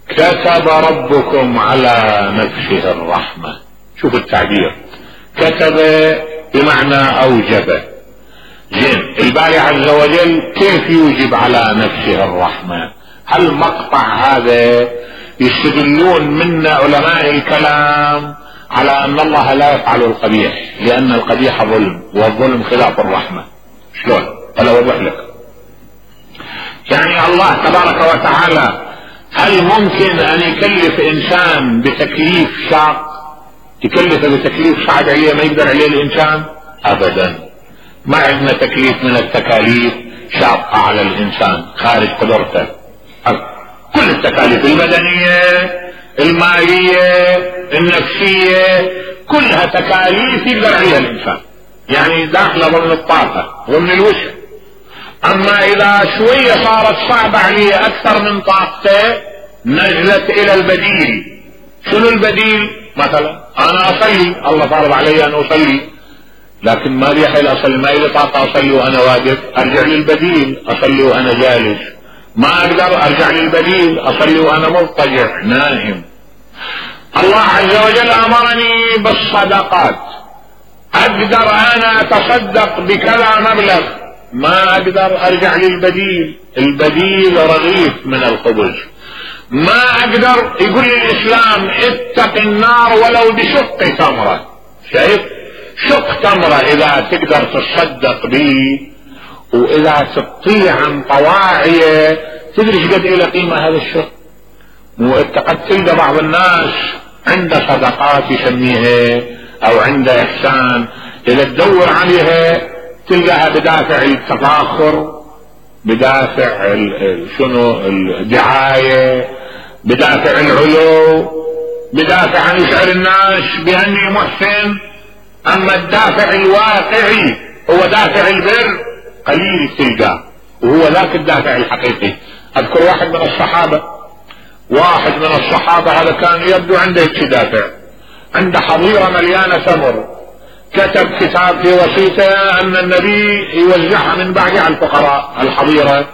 كتب ربكم على نفسه الرحمة. شوف التعبير، كتب بمعنى أوجب. زين، الباري عز وجل كيف يوجب على نفسه الرحمة؟ هل مقطع هذا يستدلون من علماء الكلام على أن الله لا يفعل القبيح، لأن القبيح ظلم، والظلم خلاف الرحمة. شلون؟ أنا أوضح لك. يعني الله تبارك وتعالى هل ممكن أن يكلف إنسان بتكليف شاق، يكلفه بتكليف صعب عليه ما يقدر عليه الإنسان؟ أبدا. ما عندنا تكليف من التكاليف شاقة على الإنسان خارج قدرته. كل التكاليف المدنية، المالية، النفسية، كلها تكاليف يقدر عليها الإنسان، يعني داخله ضمن الطاقة، ضمن الوسع. أما إذا شوية صارت صعبة عليه أكثر من طاقته، نزلت إلى البديل. شنو البديل؟ مثلا أنا أصلي، الله فرض علي أن أصلي، لكن ما لي حيل أصلي، ما لي طاقة أصلي وأنا واقف، أرجع للبديل، أصلي وأنا جالس. ما أقدر أرجع للبديل، أصلي وأنا مضطجع نائم. الله عز وجل أمرني بالصدقات، أقدر أنا أتصدق بكذا مبلغ، ما أقدر أرجع للبديل، البديل رغيف من الخبز. ما أقدر، يقول لي الإسلام اتق النار ولو بشق تمرة. شايف؟ شق تمرة إذا تقدر تصدق به، وإذا تطيع عن طواعية، تدري ايش قد إلى قيمة هذا الشق. وانت قد تلقى بعض الناس عنده صدقات يسميها او عنده إحسان، إذا تدور عليها تلقاها بدافع التفاخر، بدافع شنو الدعاية، بدافع العلو، بدافع ان يشعر الناس باني محسن. اما الدافع الواقعي هو دافع البر قليل تلقاه، وهو ذاك الدافع الحقيقي. اذكر واحد من الصحابة هذا كان يبدو عنده دافع، عنده حظيرة مليانة تمر، كتب كتاب في وصيته ان النبي يوزعها من بعد على الفقراء الحظيرة.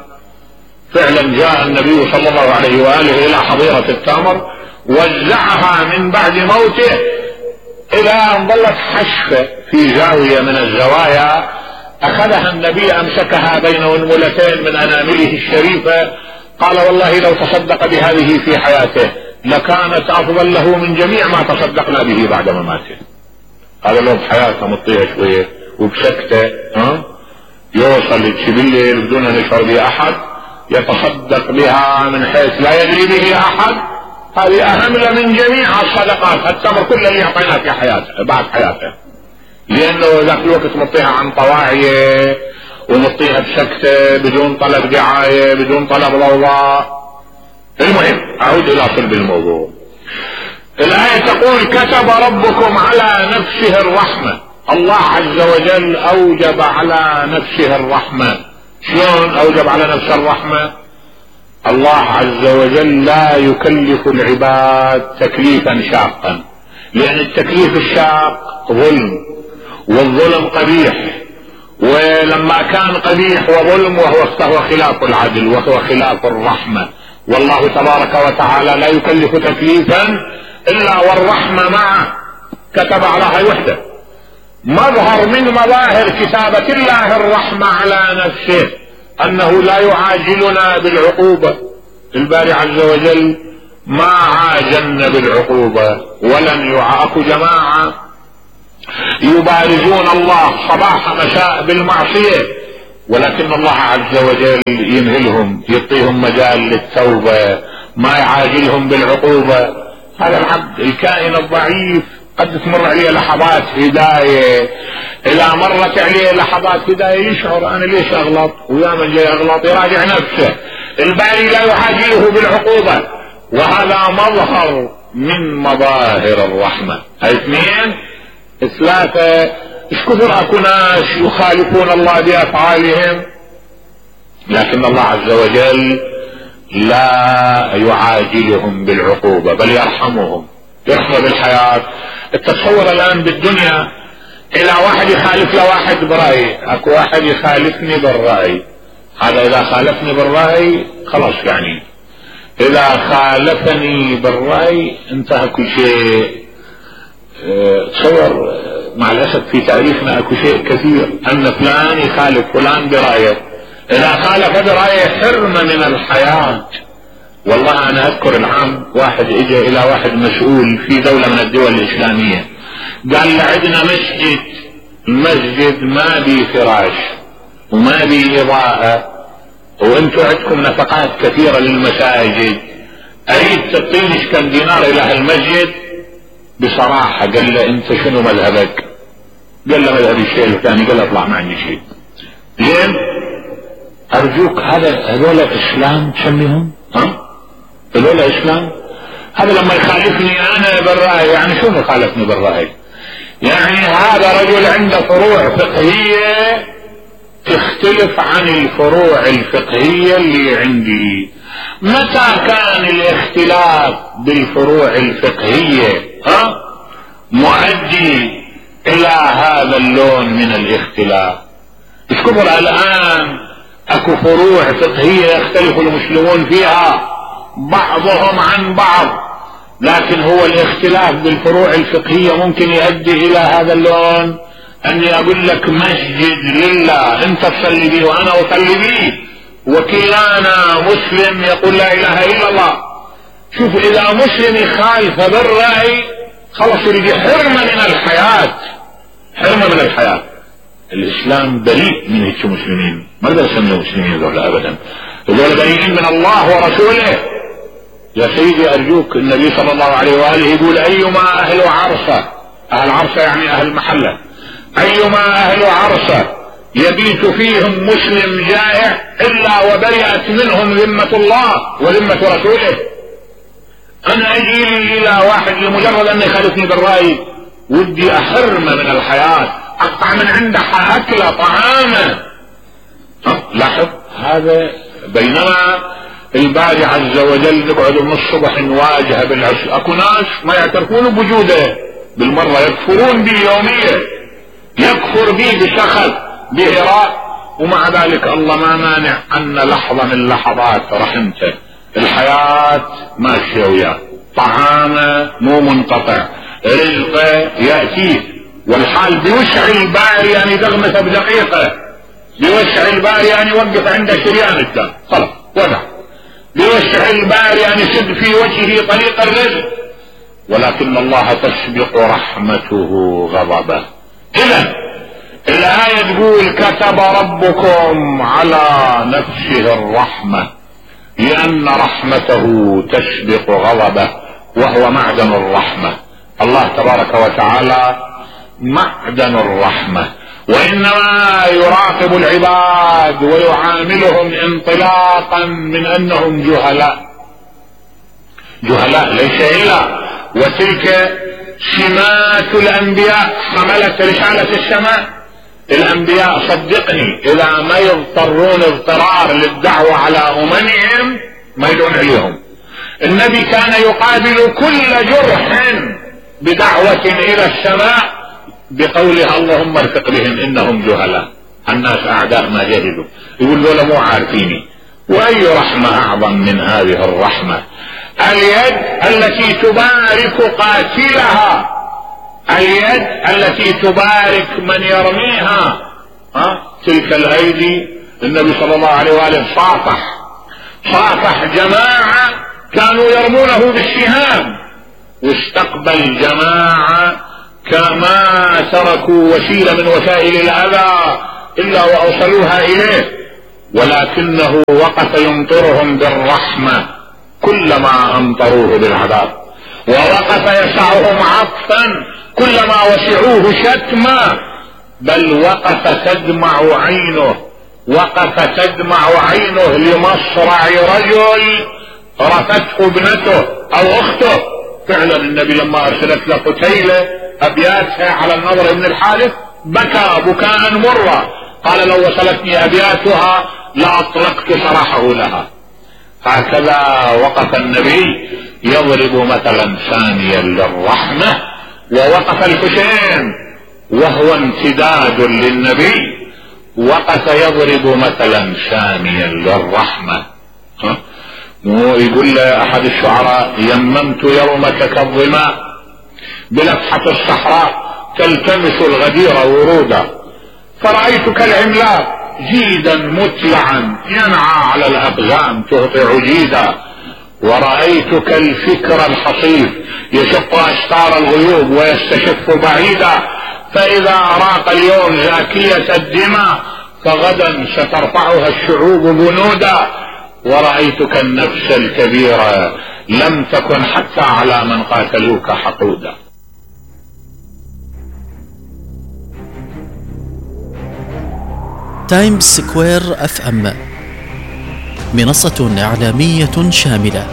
فعلا جاء النبي صلى الله عليه وآله الى حظيرة التمر، وزعها من بعد موته الى ان ظلت حشفة في زاوية من الزوايا. اخذها النبي، امسكها بين انملتين من انامله الشريفة، قال والله لو تصدق بهذه في حياته لكانت افضل له من جميع ما تصدقنا به بعد مماته. هذا لو بحياته مطيها شوية وبسكته، يوصل بالليل بدون ان يشعر به احد، يتصدق بها من حيث لا يدري به احد. هذه اهم له من جميع الصدقات، التمر كله اللي اعطيناه في حياته بعد حياته، لانه ذاك الوقت مطيها عن طواعية ومطيها بسكته بدون طلب دعاية، بدون طلب ضوضاء. المهم اعود الى صلب الموضوع. الآية تقول كتب ربكم على نفسه الرحمة. الله عز وجل اوجب على نفسه الرحمة. شلون اوجب على نفسه الرحمة؟ الله عز وجل لا يكلف العباد تكليفا شاقا، لان التكليف الشاق ظلم، والظلم قبيح، ولما كان قبيح وظلم فهو خلاف العدل وهو خلاف الرحمة. والله تبارك وتعالى لا يكلف تكليفا الا والرحمة معه، كتب على هاي وحده. مظهر من مظاهر كتابة الله الرحمة على نفسه انه لا يعاجلنا بالعقوبة. الباري عز وجل ما عاجلن بالعقوبة ولن اكو جماعة يبارزون الله صباح مساء بالمعصية، ولكن الله عز وجل يمهلهم، يعطيهم مجال للتوبة، ما يعاجلهم بالعقوبة. هذا العبد الكائن الضعيف قد تمر عليه لحظات هداية، اذا مرت عليه لحظات هداية يشعر انا ليش اغلط، ويا من جاي اغلط يراجع نفسه. الباري لا يعاجله بالعقوبة، وهذا مظهر من مظاهر الرحمة. اثنين. ثلاثة. ايش كثر اكو ناس يخالفون الله بافعالهم، لكن الله عز وجل لا يعاجلهم بالعقوبة بل يرحمهم، يرحمه بالحياة. التصور الان بالدنيا الى واحد يخالف لواحد برأي، اكو واحد يخالفني بالرأي، هذا اذا خالفني بالرأي خلاص، يعني اذا خالفني بالرأي انتهى كل شيء. تصور مع الاسف في تاريخنا اكو شيء كثير ان فلان يخالف فلان برأيه، اذا خالف برأيه حرم من الحياة. والله انا اذكر العام واحد اجى الى واحد مسؤول في دولة من الدول الاسلامية، قال له عندنا المسجد ما بي فراش وما بي اضاءة، وانتم عندكم نفقات كثيرة للمساجد، اريد تعطيني كم دينار الى هالمسجد. بصراحة قال له انت شنو مذهبك؟ قال له مذهبي الشيء الثاني. قال له اطلع ما عندي شيء. لين ارجوك هذول اسلام تسميهم؟ هذول اسلام؟ هذا لما يخالفني انا بالرأي، يعني شو يخالفني بالرأي؟ يعني هذا رجل عنده فروع فقهية تختلف عن الفروع الفقهية اللي عندي. متى كان الاختلاف بالفروع الفقهية مؤدي الى هذا اللون من الاختلاف؟ ايش كبر الان اكو فروع فقهية يختلف المسلمون فيها بعضهم عن بعض، لكن هو الاختلاف بالفروع الفقهية ممكن يؤدي الى هذا اللون. اني اقول لك مسجد لله انت تصلي به وانا اصلي به، وكلانا مسلم يقول لا اله الا الله. شوف اذا مسلم يخالف بالرأي خلص يريد حرمة من الحياة، حرمة من الحياة. الاسلام بريء من هيك مسلمين، ما نقدر نسميه مسلمين ذولا ابدا، ذولا بريئين من الله ورسوله. يا سيدي ارجوك، النبي صلى الله عليه واله يقول ايما اهل عرصة، اهل عرصة يعني اهل محلة، ايما اهل عرصة يبيت فيهم مسلم جائع الا وبرئت منهم ذمة الله وذمة رسوله. انا اجي الى واحد لمجرد انه يخالفني بالرأي ودي احرمه من الحياة، اقطع من عنده اكله طعامه. لاحظ هذا. بينما الباري عز وجل نقعد من الصبح نواجه بالعشر، اكو ناس ما يعترفون بوجوده بالمرة، يكفرون به يوميا، يكفر به بشخص بهراء، ومع ذلك الله ما مانع ان لحظة من لحظات رحمته الحياة ماشية وياه، طعامه مو منقطع، رزقه يأتيه، والحال بوسع الباري يعني دغمته بدقيقة، بوسع الباري يعني يوقف عنده شريان الدم خلاص وضع، بوسع الباري يعني سد في وجهه طريق الرزق، ولكن الله تسبق رحمته غضبه. إذا الآية تقول كتب ربكم على نفسه الرحمة، لأن رحمته تسبق غضبه، وهو معدن الرحمة. الله تبارك وتعالى معدن الرحمة، وإنما يراقب العباد ويعاملهم انطلاقا من أنهم جهلاء ليس إلا، وتلك سمات الأنبياء حملت رسالة السماء. الأنبياء صدقني إذا ما يضطرون اضطرار للدعوة على أممهم ما يدعون عليهم. النبي كان يقابل كل جرح بدعوة إلى السماء بقولها اللهم ارفق بهم إنهم جهلاء، الناس أعداء ما جهلوا، يقول له مو عارفيني. وأي رحمة أعظم من هذه الرحمة؟ اليد التي تبارك قاتلها، اليد التي تبارك من يرميها، تلك الأيدي. النبي صلى الله عليه وآله صافح جماعة كانوا يرمونه بالسهام، واستقبل جماعة كما تركوا وسيلة من وسائل الأذى إلا وأوصلوها إليه، ولكنه وقف يمطرهم بالرحمة كلما أمطروه بالعذاب، ووقف يسعهم عطفا كلما وسعوه شتما، بل وقف تدمع عينه لمصرع رجل رفته ابنته أو أخته. فعلا النبي لما أرسلت له قتيلة أبياتها على النضر بن الحارث بكى بكاء مرة، قال لو وصلتني أبياتها لأطلقت سراحه لها. هكذا وقف النبي يضرب مثلا ثانيا للرحمة، ووقف الحسين وهو امتداد للنبي، وقف يضرب مثلا ثانيا للرحمة. يقول أحد الشعراء: يممت يومك كالظماء بلفحة الصحراء تلتمس الغدير ورودا، فرأيتك العملاق جيدا متلعا ينعى على الأبغام تهطع جيدا، ورأيتك الفكر الحصيف يشق أستار الغيوب ويستشف بعيدا، فإذا أراق اليوم زاكية الدماء فغدا سترفعها الشعوب بنودا، ورأيتك النفس الكبيرة لم تكن حتى على من قاتلوك حقودا. تايمز سكوير FM منصة إعلامية شاملة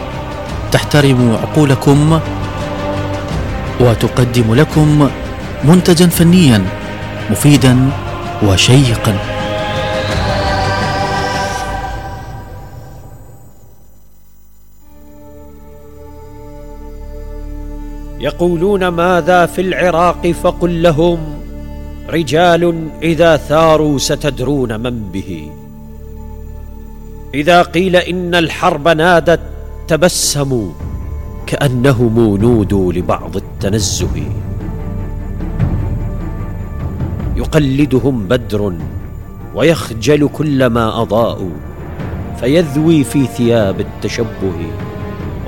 تحترم عقولكم وتقدم لكم منتجا فنيا مفيدا وشيقا. يقولون ماذا في العراق فقل لهم رجال إذا ثاروا ستدرون من به. إذا قيل إن الحرب نادت تبسموا كأنهم نودوا لبعض التنزه. يقلدهم بدر ويخجل كلما أضاءوا فيذوي في ثياب التشبه.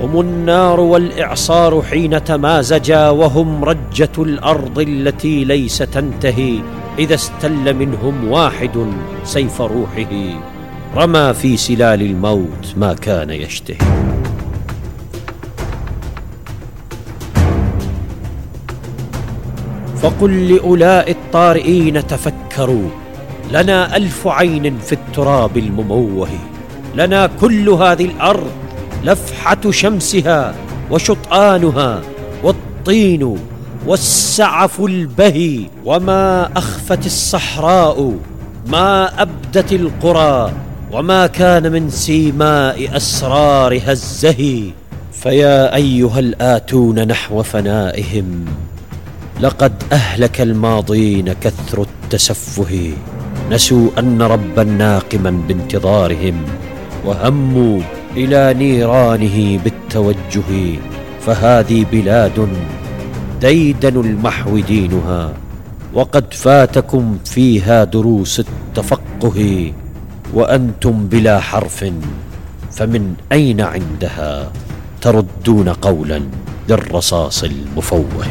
هم النار والإعصار حين تمازجا، وهم رجة الأرض التي ليس تنتهي. إذا استل منهم واحد سيف روحه رمى في سلال الموت ما كان يشتهي. فقل لأولاء الطارئين تفكروا، لنا 1000 عين في التراب المموه، لنا كل هذه الأرض لفحة شمسها وشطآنها والطين والسعف البهي، وما أخفت الصحراء ما أبدت القرى، وما كان من سيماء أسرارها الزهي. فيا أيها الآتون نحو فنائهم، لقد أهلك الماضين كثر التسفه. نسوا أن ربا ناقما بانتظارهم، وهموا إلى نيرانه بالتوجه. فهذه بلاد ديدن المحو دينها، وقد فاتكم فيها دروس التفقه. وأنتم بلا حرف، فمن أين عندها تردون قولا للرصاص المفوه.